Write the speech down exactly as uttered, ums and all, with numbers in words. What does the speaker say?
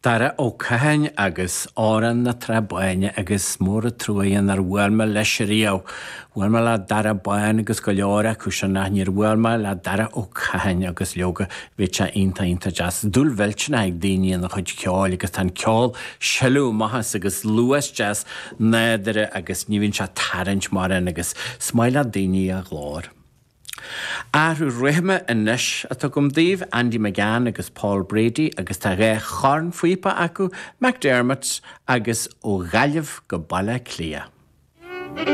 Dara Ó Catháin agus Amhrán na Trá Báine agus mór an trua é nár bhuail mé leis riamh. Bhuail mé le Dara Bán agus go leor acu sin ach níor bhuail mé le Dara Ó Catháin agus leoga bhí sé iontach iontach deas. Dúil mhillteanach ag daoine ina chuid ceoil agus tá an ceol sileadh amach agus luas deas nádúrtha agus ní bhíonn sé ag tarraingt mar an agus is maith le daoine a ghlór. Athrú rithime anois atá agam daoibh Andy McGann agus Paul Brady agus tá dhá chornphíopa acu McDermott agus ó Ghaillimh go Baile Átha Cliath.